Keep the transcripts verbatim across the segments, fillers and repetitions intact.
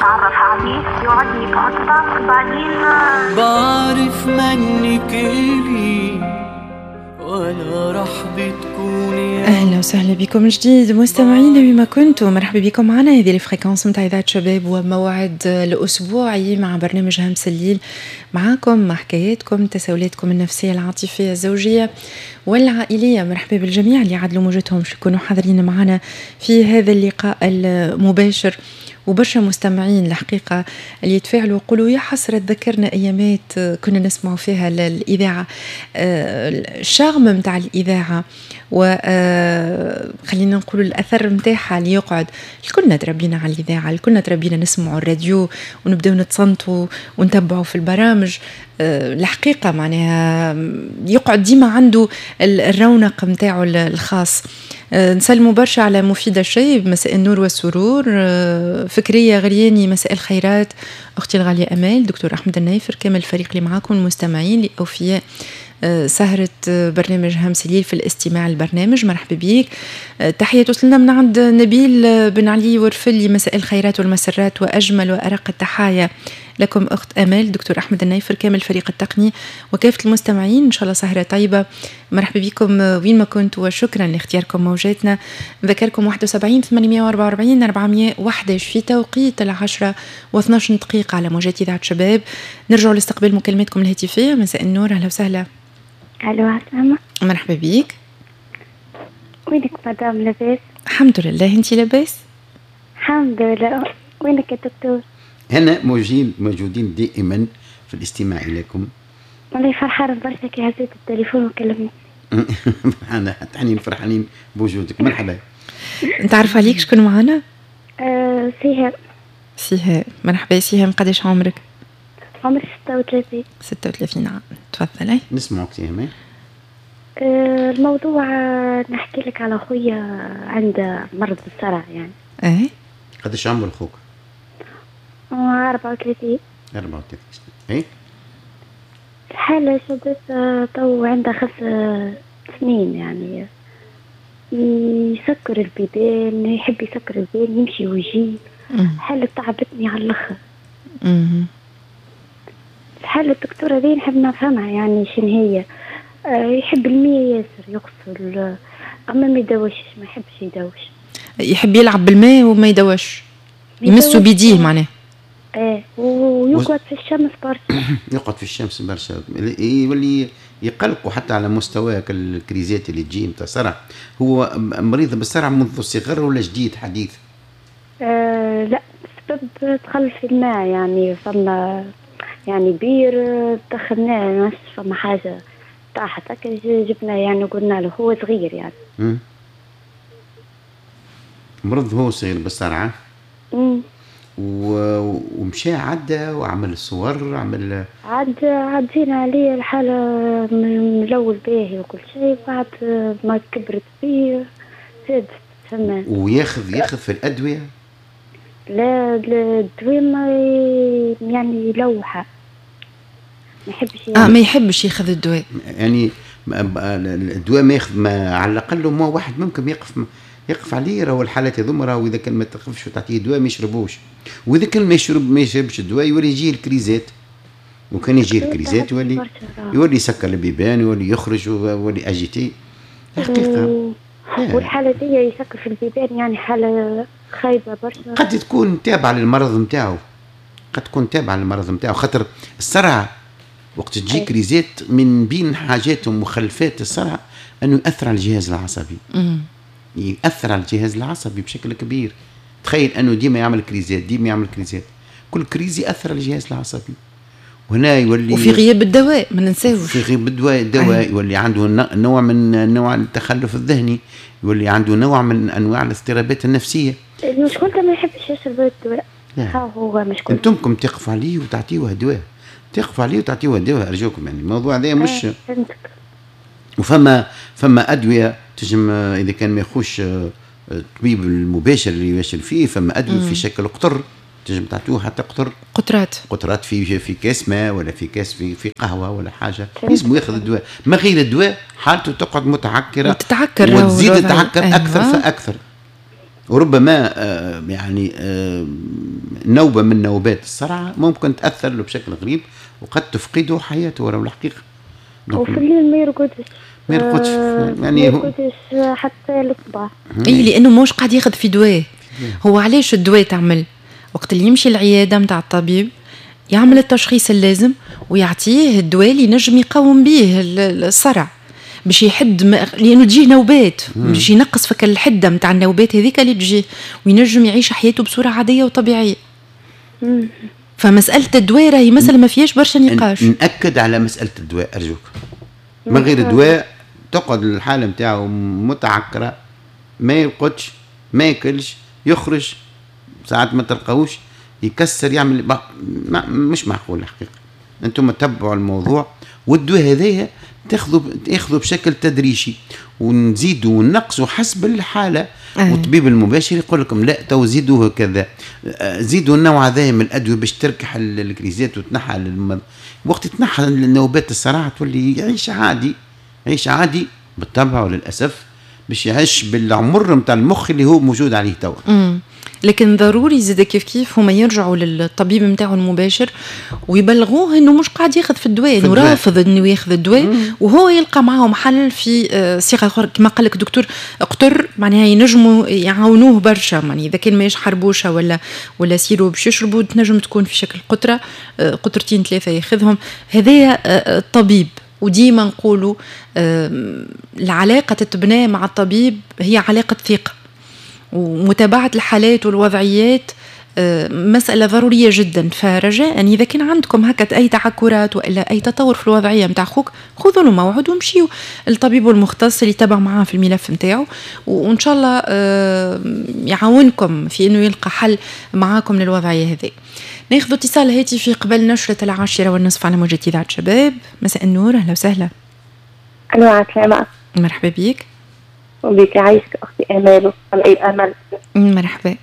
نتعرف عليه، يوعدني بعطلة بعدين بعرف منك إلي ولا راح بتكوني. اهلا وسهلا بكم من جديد مستمعينا بما كنتم، مرحبا بكم معنا هذه ال fréquence نتاع اذاعة شباب وموعد الاسبوعي مع برنامج همس الليل، معاكم مع حكاياتكم تساؤلاتكم النفسية العاطفية الزوجية والعائليه. مرحبا بالجميع اللي عدلوا موجتهم باش يكونوا حاضرين معنا في هذا اللقاء المباشر، وبرشا مستمعين الحقيقة اللي يتفاعلوا ويقولوا يا حسرة تذكرنا أيامات كنا نسمعوا فيها الإذاعة، ال charme متاع الإذاعة و خلينا نقولوا الأثر متاعها اللي يقعد. الكلنا تربينا على الإذاعة، الكلنا تربينا نسمعوا الراديو ونبداو نتصنتوا ونتبعوا في البرامج. الحقيقة معناها يقعد ديما عنده الرونق متاعه الخاص. نسلموا برشا على مفيدة الشيب، مساء النور والسرور. فكرية غرياني، مساء الخيرات. أختي الغالية أمال، دكتور أحمد النايفر، كامل الفريق اللي معاكم، المستمعين لأوفياء سهرة برنامج همس الليل في الاستماع للبرنامج، مرحبا بيك. تحية توصلنا من عند نبيل بن علي ورفلي، مساء الخيرات والمسرات وأجمل وأرق التحايا لكم أخت أمال، دكتور أحمد النايفر، كامل الفريق التقني وكافة المستمعين. إن شاء الله سهرة طيبة، مرحبا بكم وين ما كنتوا وشكرا لاختياركم موجاتنا. نذكركم واحد وسبعين ثمانمائة وأربعة وأربعين أربعمائة وأحد عشر في توقيت العشرة واثناش دقيقة على موجات إذاعة شباب. نرجع لاستقبال مكالماتكم الهاتفية. مساء النور، أهلا وسهلا. ألو عسلامة، مرحبا بيك. وينك مدام، لاباس؟ الحمد لله، انت لاباس؟ الحمد لله. وينك يا دكتور؟ هنا موجودين موجودين دائما في الاستماع اليكم. والله فرحانة برشا كي هزيت التليفون وكلمني. فرحانة حتى فرحانين بوجودك، مرحبا. نتعرف عليك، شكون معنا؟ أه سهام. سهام، مرحبا سهام، قداش عمرك؟ عمري ستة وثلاثين. ستة وثلاثين عام، تفضلي. نسمعك سهام. أه الموضوع نحكي لك على خويا عنده مرض الصرع يعني. ايه قداش عمر خوك؟ أربعة وثلاثين. أربعة وثلاثين سنة. إيه؟ الحالة شدت تو عندها خمس سنين يعني. يسكر البيبان، يحب يسكر البيبان، يمشي ويجي. حالة تعبتني على الآخر. الحالة الدكتورة ذي نحب نفهمها يعني شنو هي. يحب المية ياسر، يغسل أما ما يدوشش، ما يحبش يدوش. يحب يلعب بالماء وما يدوش، يمسوا بيديه معناه. ايه، ويقعد في الشمس برشا. يقعد في الشمس برشا، يولي يقلقوا حتى على مستوى الكريزات اللي تجي نتاع صرع. هو مريض بالصرع منذ الصغر ولا جديد حديث؟ آه لا، بسبب دخل في الماء يعني، فما يعني بير دخلناه، فما حاجة طاحت هكا جبنا يعني قلنا له، هو صغير يعني. امم مرض هو صغير بالصرعه. امم ومشى عدى وعمل صور، عمل عد عدينا عليه الحالة من الأول باهي وكل شيء، بعد ما كبرت بيه زادت فما. وياخذ ياخذ في الأدوية؟ لا الدواء ما يعني لوحة، ما يحبش يعني. اه ما يحبش ياخذ الدواء يعني، الدواء ما ياخذ، ما على الأقل ما واحد ممكن يقف يقف عليه. راهو الحالات هذوما راهو اذا كان ما تقفش وتعطيه دواء ما يشربوش، واذا كان ما يشرب ما يشربش الدواء يولي يجي الكريزات، وكان يجي الكريزات يولي يولي يسكر البيبان، يولي يخرج ويولي agité الحقيقة. والحالة دي يسكر في البيبان يعني حاله خايبة برشا. قد تكون تابعه للمرض نتاعو، قد تكون تابعه للمرض نتاعو، خاطر الصرع وقت تجي كريزات من بين حاجات ومخلفات الصرع انه ياثر على الجهاز العصبي. مم. يأثر على الجهاز العصبي بشكل كبير. تخيل انه ديما يعمل كريزات، ديما يعمل كريزات، كل crise يأثر على الجهاز العصبي، وهنا يولي وفي غياب الدواء ما ننساوش، في غياب الدواء الدواء يولي عنده نوع من نوع التخلف الذهني، يولي عنده نوع من انواع الاضطرابات النفسية. المشكلة ما يحبش يشرب الدواء. ها هو مشكل. انتمكم تقفوا عليه وتعطيوه دواء، تقفوا عليه وتعطيوه دواء ارجوكم، يعني الموضوع هذا مش فهمتك. وفما فما ادوية تجم اذا كان ما يخوش الطبيب المباشر اللي يباشر فيه، فما ادوية في شكل قطر تنجم تعطوه حتى قطر، قطرات قطرات في في كاس ماء ولا في كاس في في قهوة ولا حاجة، لازم ياخذ الدواء. ما غير الدواء حالته تقعد متعكره وتتعكر وتزيد تتعكر أيوة. اكثر فاكثر. وربما آه يعني آه نوبه من نوبات الصرع ممكن تاثر له بشكل غريب وقد تفقده حياته ولو الحقيقة. وفي الليل ما يرقدش ما يرقدش يعني ما يرقدش حتى الصباح. اي لانه موش قاعد ياخذ في دواء. هو علاش الدواء تعمل؟ وقت اللي يمشي العيادة نتاع الطبيب يعمل التشخيص اللازم ويعطيه الدواء اللي ينجم يقاوم به الصرع باش يحد ما... لانه تجيه نوبات باش ينقص فك الحدة نتاع النوبات هذيك اللي تجيه وينجم يعيش حياته بصورة عادية وطبيعيه. مم. فمسالة الدواء راهي مسالة ما فيهاش برشا نقاش. ناكد على مسالة الدواء ارجوك. من غير دواء تقعد الحالة نتاعو متعكره، ما يرقدش، ما ياكلش، يخرج ساعات ما تلقاوش، يكسر، يعمل ما مش معقول الحقيقة. انتم تتبعوا الموضوع، والدواء هذايا تاخذوا تاخذوا بشكل تدريجي ونزيدوا ونقصوا حسب الحالة. أه. والطبيب المباشر يقول لكم لا تو زيدوه كذا، زيدوا النوع هذا من الادوية باش تركح الكريزات وتنحى الم... وقت تنحى النوبات الصراع تولي يعيش عادي، يعيش عادي بالطبع وللاسف باش يعيش بالعمر نتاع المخ اللي هو موجود عليه توا. لكن ضروري زاد كيف كيف هما يرجعوا للطبيب نتاعو المباشر ويبلغوه انه مش قاعد ياخذ في الدواء، انه رافض انه ياخذ الدواء، وهو يلقى معاهم حل في صيغة اخرى كما قال لك دكتور قطر، معناها ينجموا يعاونوه برشا، يعني اذا كان ماهيش حربوشه ولا ولا sirop باش يشربوا تنجم تكون في شكل قطرة، قطرتين ثلاثة ياخذهم هذايا الطبيب. وديما نقولوا العلاقة تتبنى مع الطبيب هي علاقة ثقة، ومتابعة الحالات والوضعيات مسألة ضرورية جدا. فرجاء إذا كان عندكم هكا أي تعكرات وإلا أي تطور في الوضعية متاع خوك، خذوا له موعد ومشيوا للطبيب المختص اللي تابع معاه في الملف متاعه، وإن شاء الله يعاونكم في إنه يلقى حل معاكم للوضعية هذه. ناخذ اتصال هاتفي قبل نشرة العاشرة والنصف على موجة إذاعة شباب. مساء النور، أهلا وسهلا. ألو، عسلامة. مرحبا بك. وبك عايشك أختي أمال وأي أمل. مرحبا.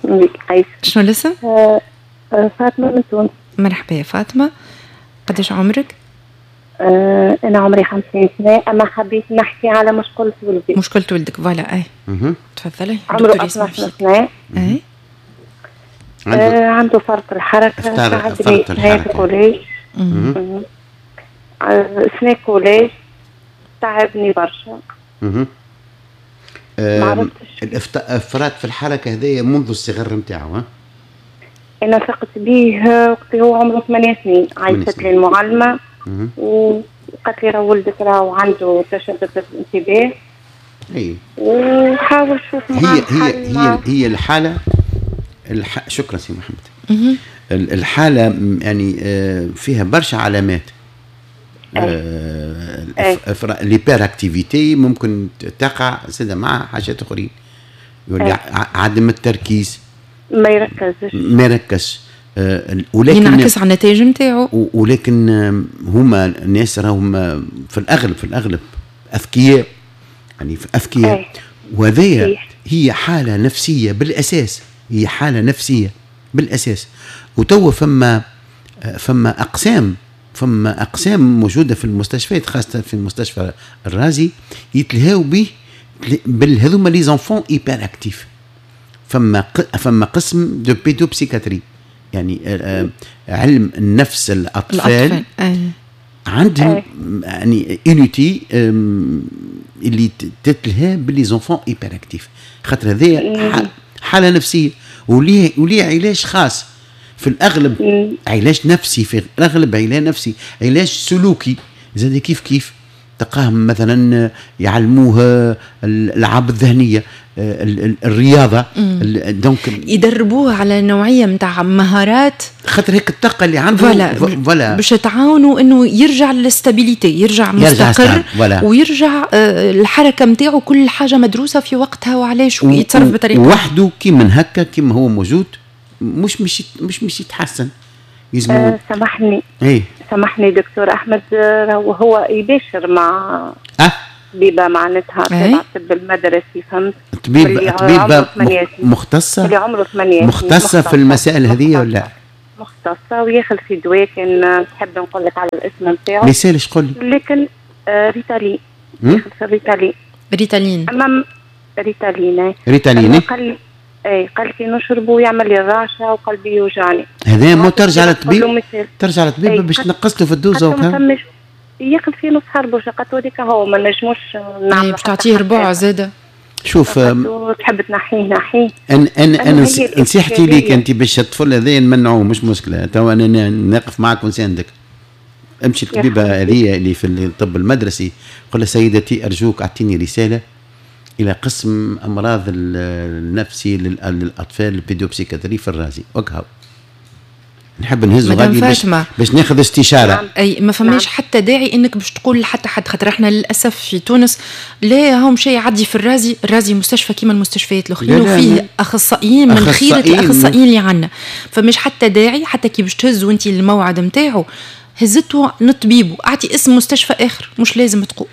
بك عايشك. شنو الاسم؟ آه فاطمة من تونس. مرحبا يا فاطمة، قداش عمرك؟ آه أنا عمري خمسين سنة، أما حبيت نحكي على مشكلة ولدي. مشكلة ولدك voilà، أي. تفضلي. عمره اثنا عشر سنة. أي. عنده, آه عنده فرط الحركة، فرط الحركة. collège. سنة collège تعبني برشا. اها. الافراط في الحركة هذايا منذ الصغر نتاعو. ها؟ انا ثقت به وقت هو عمره ثمانية سنين، عيطت لي المعلمة وقالت لي راه ولدك راهو عنده تشتت الانتباه. اي. وحاول شوف معاه. هي هي هي هي الحالة الح... شكرا سي محمد. الحالة يعني فيها برشا علامات. l'hyperactivité ممكن تقع زاد مع حاجات اخرين، يولي عدم التركيز، ما يركزش ما يركزش، ولكن ينعكس على النتائج نتاعو. ولكن هما الناس راهم في الاغلب في الاغلب اذكياء، يعني اذكياء، وهذه هي حاله نفسية بالاساس، هي حاله نفسية بالاساس. وتوا فما فما اقسام فما اقسام موجودة في المستشفيات، خاصة في المستشفى الرازي، يتلهاو به بالهذوما les enfants hyperactifs. فما فما قسم de pédopsychiatrie، يعني علم النفس الاطفال, الأطفال. عندهم يعني unité اللي تتلهى ب les enfants hyperactifs، خاطر هذايا حاله نفسية وليه وليه علاج خاص في الاغلب، علاج نفسي في الاغلب، علاج نفسي، علاج سلوكي زاد كيف كيف. تلقاهم مثلا يعلموه الالعاب الذهنية، الرياضة، donc يدربوه على نوعية نتاع مهارات، خاطر هيك الطاقة اللي عنده voilà باش تعاونوا انه يرجع لل stabilité، يرجع مستقر ويرجع الحركة نتاعو كل حاجة مدروسة في وقتها وعلاش ويتصرف بطريقة وحده. كي من هكا كيما هو موجود مش مش مش مش يتحسن. يزمو أه سامحني ايه سامحني دكتور احمد، وهو يباشر مع أه؟ طبيبه معناتها تبع الطب المدرسي، فهمت؟ طبيب طبيبه مختصة اللي عمره ثمانية مختصة في المسائل هذه ولا مختصة، وياخذ في دواء كان تحب نقول لك على الاسم نتاعو. ما يسالش قول لي. لكن آه ريتالين، ياخذ في الريتالين. ريتالين. أما ريتالين. ريتالين. قال اي قالت لي نشربه ويعمل لي الرعشه وقلبي يوجعني. هذا مو ترجع للطبيب، ترجع للطبيب باش تنقص له في الدوزه وكا ياخذ في نص حربوشه. قالت له هذيك هو ما نجموش نعملوا، باش تعطيه ربع زاده. شوف تحب تنحيه نحيه. انا انا انا نصيحتي ليك انت باش الطفل هذا نمنعوه مش مشكلة، تو انا نقف معك ونساندك. امشي الطبيبة هذه اللي في الطب المدرسي، قل لها سيدتي ارجوك اعطيني رسالة الى قسم امراض النفسي للاطفال ال pédopsychiatrie في الرازي وكهو. نحب نهزو غادي باش باش ناخذ استشاره. نعم. اي ما فماش نعم. حتى داعي انك باش تقول لحتى حد، خاطر احنا للاسف في تونس لا هم شيء يعدي في الرازي، الرازي مستشفى كيما المستشفيات الاخرين وفيه اخصائيين من خيره الاخصائيين اللي عندنا، فمش حتى داعي حتى كي باش تهز وانت الموعد نتاعو هزته للطبيب واعطي اسم مستشفى اخر، مش لازم تقول.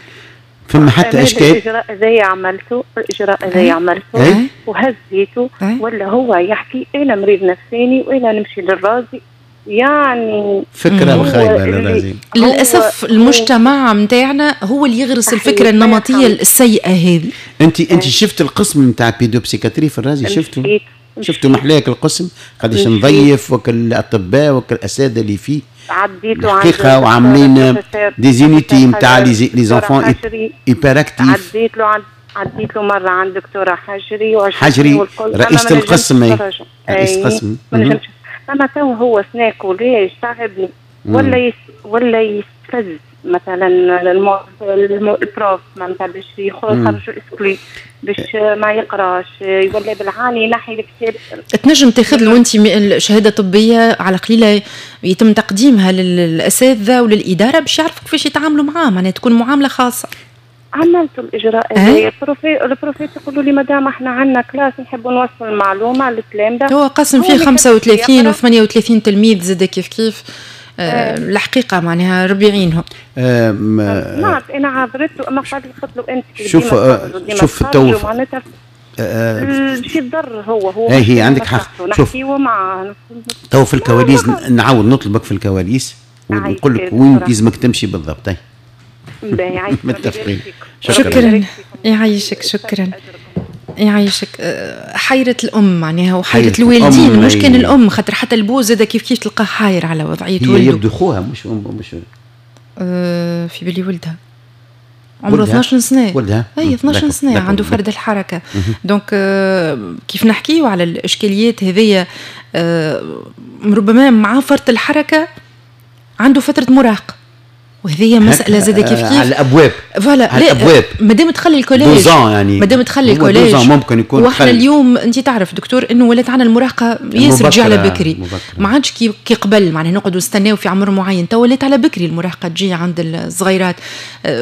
فما حتى اشكال. الاجراء هذايا عملته، الاجراء هذايا عملته وهزيته، ولا هو يحكي انا مريض نفساني وانا نمشي للرازي، يعني فكرة خايبة للرازي. للاسف المجتمع نتاعنا هو اللي يغرس الفكرة النمطية السيئة هذه. انت انت شفت القسم نتاع pédopsychiatrie في الرازي؟ شفته؟ شفتوا محلاك القسم قداش نظيف وكل الاطباء وكل الاساتذة اللي فيه عديتوا الحقيقة وعاملين des unités نتاع les enfants hyperactifs. عديت له عديت له مرة عند دكتورة حجري حجري رئيسه القسم، رئيس القسم. اما تو هو سنا collège تعبني ولا يس ولا يستفز مثلا ال prof معناتها باش يخرجوا exclu باش ما يقراش، يولي بالعاني ينحي الكتاب. تنجم تاخذ له انت شهادة طبية على قليله يتم تقديمها للاساتذه وللاداره باش يعرفوا كيفاش يتعاملوا معاه، معناها تكون معاملة خاصة. عملت الاجراء هذا، ال prof ال prof ات يقولوا لي مدام احنا عندنا classe نحبوا نوصل المعلومة للتلامذه. هو قسم فيه خمسة وثلاثين و ثمانية وثلاثين تلميذ زاد كيف كيف. أه الحقيقة معناها ربي يعينهم. أه نعم انا عذرته، اما قال قلت له انت شوف شوف تو معناتها شي ضر هو هو اي هي عندك حق. شوف تو في الكواليس نعاود نطلبك في الكواليس ونقول لك وين لازمك تمشي بالضبط. اي متفقين. شكرا, شكرا. يعيشك. شكرا يعيشك. حيرة الأم معناها وحيرة الوالدين، مش كان الأم خاطر حتى البو زاد كيف كيف تلقاه حاير على وضعية ولده. يبدو خوها مش أم مش أه في بالي ولدها عمره اثناش سنة. ولدها اي اثناش سنة عنده فرد الحركة. donc آه كيف نحكيو على الإشكاليات هذيا، آه ربما مع فرط الحركة عنده فترة مراهقة، وهذه مسألة زادة كيف كيف على الأبواب. voilà على الأبواب مادام تخلي ال collège يعني مادام تخلي ال collège ممكن يكون. واحنا اليوم أنت تعرف دكتور أنه ولات عندنا المراهقة ياسر تجي على بكري، ما عادش كي كي قبل معناها نقعدوا نستناو في عمر معين، تو ولات على بكري المراهقة تجي عند الصغيرات،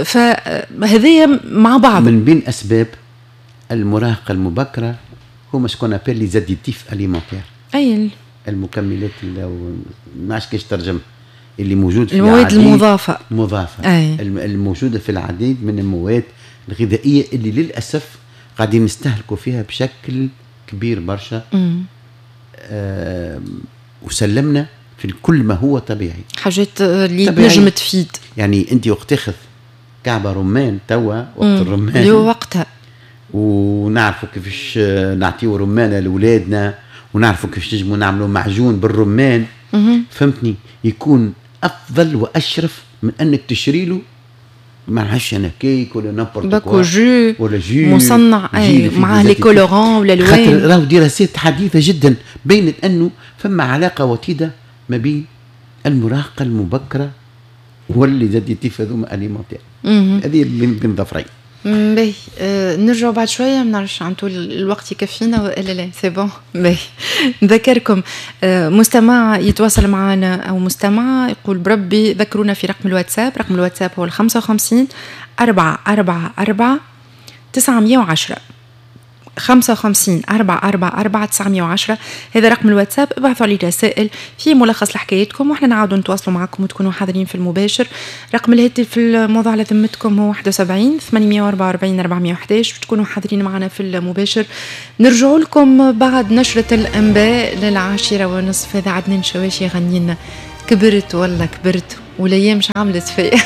فهذايا مع بعض. من بين أسباب المراهقة المبكرة هما ce qu'on appelle les additifs alimentaires، أي المكملات اللي ما عادش كيفاش ترجم اللي موجود في المواد المضافة مضافة أي. الموجودة في العديد من المواد الغذائية اللي للأسف قاعدين نستهلكوا فيها بشكل كبير برشا. آه وسلمنا في كل ما هو طبيعي، حاجات اللي تنجم تفيد. يعني أنت وقت تاخذ كعبة رمان توا وقت الرمان اللي هو وقتها، ونعرفوا كيفاش نعطيو رمانة لأولادنا، ونعرفوا كيفاش نجموا نعملوا معجون بالرمان. فهمتني؟ يكون افضل واشرف من انك تشري له ما نعرفش انا كيك ولا n'importe quoi jus ولا jus مصنع اي معاه les colorants ولا الوان. خاطر راهو دراسات حديثه جدا بينت انه فما علاقة وطيدة ما بين المراهقة المبكرة و les additifs هذوما alimentaires. هذه بين ظفرين. باهي أه نرجعوا بعد شوية، ما نعرفش عنده الوقت يكفينا والا لا. c'est bon. باهي نذكركم أه مستمع يتواصل معنا او مستمعه يقول بربي ذكرونا في رقم الواتساب. رقم الواتساب هو خمسة وخمسين أربعة أربعة أربعة تسعمية وعشرة، خمسة وخمسين أربعة أربعة أربعة تسعمية وعشرة، هذا رقم الواتساب. ابعثوا لي رسائل في ملخص لحكايتكم واحنا نعاودوا نتواصلوا معكم وتكونوا حاضرين في المباشر. رقم الهاتف الموضوع على ذمتكم هو واحد وسبعين ثمانمية وأربعة وأربعين أربعمية وأحد عشر، تكونوا حاضرين معنا في المباشر. نرجعوا لكم بعد نشرة الأنباء للعاشرة ونصف. هذا عدنان شواشي غنينا كبرت والله كبرت والأيام مش عملت فيا.